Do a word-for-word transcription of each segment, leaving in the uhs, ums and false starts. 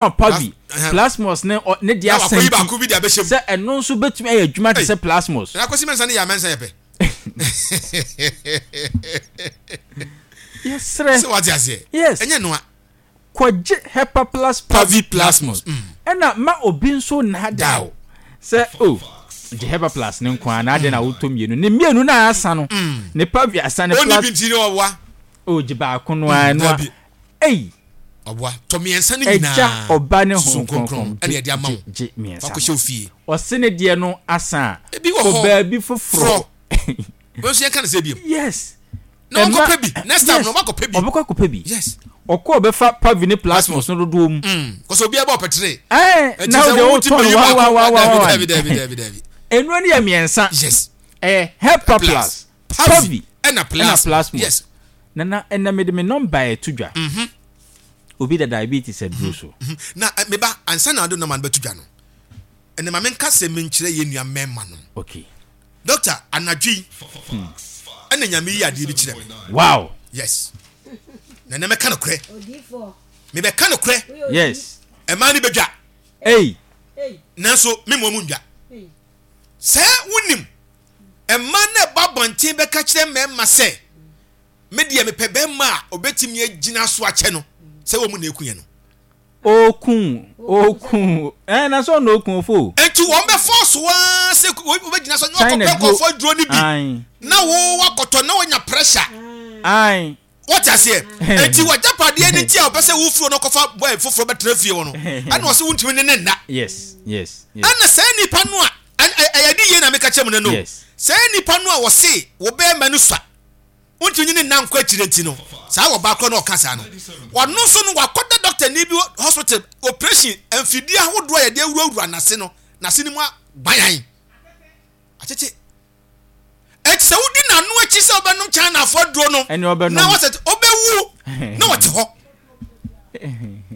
Pavi Plasmos ne ne deɛ asan ti sɛ ɛno nso bɛtumi ayɛ adwuma te sɛ Plasmos. Na Kwasi Mensah ne yɛ amɛnsa yɛ pɛ. Yɛsrɛ. Sɛ wate aseɛ. Yes. Ɛnyɛ noa. Kɔgye Hepaplas Pavi Plasmos. Ɛna ma obi nso nnaadaa wo sɛ o gye Hepaplas ne nko ara na adeɛ na wotɔ mmienu ne mmienu na asa no ne Pavi asa ne Plas. Ɔni bi nti ne ɔboa. O gye baako no ara no a. Ei. Ɔboa tɔ mmiɛnsa no nyinaa. Agya, Ɔba ne Honhom Kronkron ɛna yɛde ama wo. Gye mmiɛnsa no. Fakɔhyɛ wo fie. Ɔse ne deɛ no asa a. Ebi wɔ hɔ. Kɔ baabi foforɔ. Wei nso yɛnka no sɛ biom. Yes. Na ɔnkɔ pɛ bi. Next time no ɔbɛkɔ pɛ bi. Ɔbɛkɔ akɔpɛ bi. Yes. Ɔkɔ ɔbɛfa Pavi ne Plasmos no dodoɔ mu. Mm. Kɔsɛ obiara bɛ ɔpɛ tere. Ɛɛ na wode wotɔn no wa wa wa wa wa. Dabi dabi dabi dabi. Nnuro no yɛ mmiɛnsa. Yes. Ɛyɛ Hepa Plus, Pavi ɛna Plasmos. Yes. Nana ɛnɛ mede me nɔmba ɛto dwa. Mm-hmm. Obi da diabetes aduro so. Na me ba, ansa na ɔde nɔma no bɛto dwa no, ɛnɛ ma menka sɛ menkyerɛ yɛn nua mmarima nom. Okay. Doctor, anadwo yi, hmm. ɛna Nyame yi adeɛ bi kyerɛ me. Wow. Yes. Na ɛnɛ mɛka nokorɛ. Mebɛka nokorɛ. Yes. Ɛmaa no bɛdwa. Ei. Nanso me mmɔ mu ndwa. Sɛ wonim, ɛmaa no ɛba abɔnten bɛka kyerɛ mmarima sɛ, me deɛ mepɛ bɛrima a ɔbɛtumi agyina so akyɛ no sɛ wɔn mu na eku yɛn no. Oku oku ɛn na sɛ ɔna oku ofo. Nti wɔn bɛ fɔɔso waa sɛ wɔbɛgyina so na wɔkɔpɛ nkurɔfoɔ aduro no bi na wo wakɔtɔ na wɔnya pressure. Ayi. Wɔte aseɛ nti wagyapadeɛ no nti a ɔpɛ sɛ wofiri hɔ na ɔkɔfa boy foforɔ bɛtena fie hɔ no ɛna ɔsɛ wontumi ne ne nna. Yes yes. Ɛna saa nipa no a ɛyɛ de yie na meka kyerɛ mu no no saa nipa no a wɔse wo bɛrima no sua wontumi nye ne nna nkɔ akyire nti no, saa ɔbaa korɔ no a ɔka saa no, ɔno nso no wakɔda dɔktani bi hospital, operation, mfidie ahodoɔ a yɛde awurawura n'ase no, n'ase no mu agbayan, akyekye. Enti sɛ wodi n'ano akyi sɛ wobɛnom Chinafoɔ aduro no, na wɔsɛ wobɛwu na wɔte hɔ.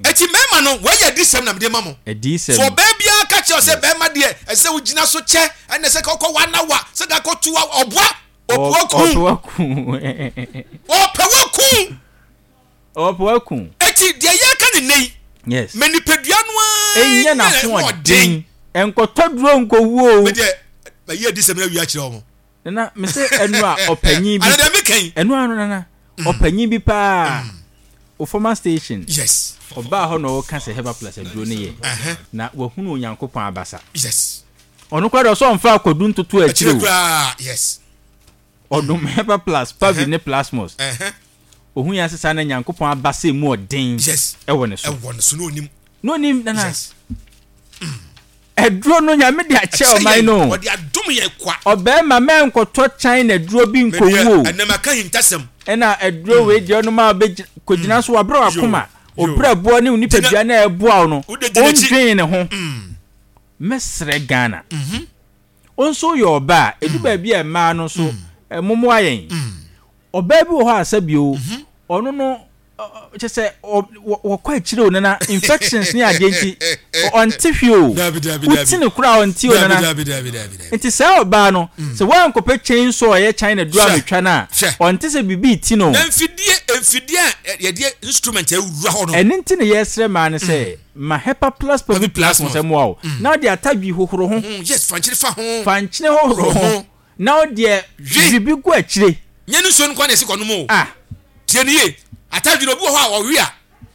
Eti mmarima no, wei yɛ adiyisɛm na mede ma mo. Adiyisɛm. So ɔbaa biara ka kyerɛ sɛ bɛrima deɛ ɛsɛ sɛ wogyina so kyɛ, ɛna ɛsɛ ka ɔkɔ one hour, sɛ ka kɔ two hour, ɔboa. Ɔpɛ waku. Ɔpɛ waku. Ɔpɛ waku. Eti deɛ yɛka ne nne yi. Yes. Mɛ nipadua no ara. Ɛnyɛ n'ahoɔden. Nkɔtɔ duro nkɔwu o. Mɛ deɛ mɛ yɛ adiyisɛm na awia kyerɛ wɔn. Nana mɛ sɛ ɛnu a ɔpanyin bi. Ana deɛ mi kɛn. Ɛnu ano nana. Ɔpanyin bi paa. O former station. Yes. Ɔbaa hɔ na ɔka sɛ Herbal Plus aduro ne yɛ. Na wahunu Onyankopɔn abasa. Yes. Ɔno koraa deɛ ɔsɛ ɔmfa akɔdu ntoto akyire o. Akyire koraa yes. Ɔdom Hepa Plus, Pavi ne Plasmos. Ohun yɛn sesa na Nyankopɔn abasa emu ɔden. Yes. Ɛwɔ ne so. Ɛwɔ ne so na onim. Na onim nana. Yes. Aduro no Nyame de akyɛ ɔman no. Ɔde adom yɛn kwa. Ɔbɛrima mɛnkɔtɔ China aduro bi nkɔwu o. Ɛnɛ maka hintasɛm. Ɛna aduro wei deɛ ɔnom a ɔbɛgyina so wabrɛ wakoma. Obrɛboɔ ne wo nipadua na ɛboa wo no. Ɔndwen ne ho. Mɛsrɛ Ghana. Wo nso woyɛ ɔbaa a, ɛdu baabi a mmaa no nso mommoa yɛn. Ɔbaa bi wɔ hɔ a sɛbi o, ɔno no kyɛ sɛ wɔkɔ akyire o nana, infections ne adeɛ nti ɔnte hwee o. Wote no koraa ɔnte o nana. Nti saa ɔbaa no, sɛ woankɔpɛ chainsaw a ɛyɛ China duro ametwa no a, ɔnte sɛ biribi reti no o. Na mfidie, mfidie a yɛde instrument awura hɔ no. Ɛno nti na yɛsrɛ mmaa no sɛ, Ma Hepa Plus Pavi Plus ho sɛ mmoa wo na wode atadwi hohoro ho. Yes, fa nkyene fa ho. Fa nkyene hohoro ho na wodeɛ biribi gu akyire. Nyɛ ne nsuo no nko ara na yɛsi kɔnom o. Ah. Tie no yie. Atadwi no, obi wɔ hɔ a ɔwe a,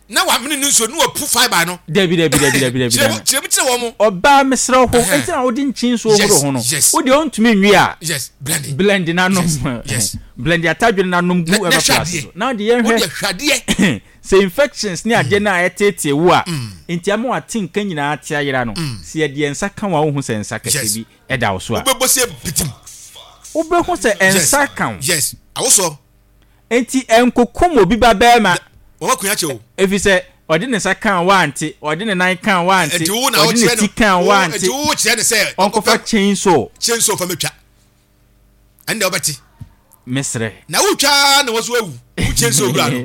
na wamene ne nsuo no na wapu fibre no. Dabi, dabi, dabi, dabi, dabi. Kyerɛ mu, kyerɛ mu kyerɛ wɔn. Ɔbaa mesrɛ wo, nti na wode nkyen nsuo hohoro ho no. Yes, yes. Wo deɛ wontumi nwe a. Yes, blend. Blend na nom. Yes, yes. Blend atadwi no na nom gu Na, na Hepa hwɛ Plus adeɛ. so. Na wodeɛ yɛnhwɛ. Wodeɛ hwɛ adeɛ. Sɛ infections ne adeɛ no a ɛteetee wo a nti ama w'ate nka nyinaa ate ayera no, sɛ yɛde yɛn nsa ka wo a wonhu sɛ nsa kɛseɛ bi da wo so a. Wobɛbɔ sɛ bitim. Wobɛhu sɛ nsa ka wo. Yes, awosoɔ. Nti ɛnkokum obi ba barima. Wɔn akua kyɛ o. Ɛfiri sɛ ɔde ne nsa kaa wo ante, ɔde ne nan kaa wo ante, ɔde ne ti kaa wo ante. Nti wo kyerɛ no sɛ ɔnkɔfa chainsaw. Chainsaw fa mɛtwa. Ɛnna wobɛte. Mesrɛ. Na wotwa ara na wɔso awu. Wo chainsaw wura no.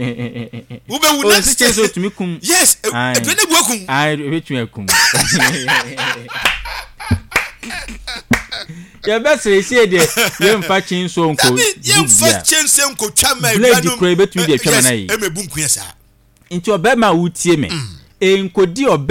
Wobɛwu na. Ɔsi chainsaw tumi kum. Yes, ɛdure ne bu akum. Ayi, ebetumi akum. Yɛbɛsrɛ esie deɛ yɛmfa chainsaw nko. Dabi yɛmfa chainsaw nko twa ma blade kura ebetumi de atwa ma na yi. Yes, ɛmɛ bu nkuya saa. Nti ɔbɛrima a wotie me, Nkodi ɔbaa.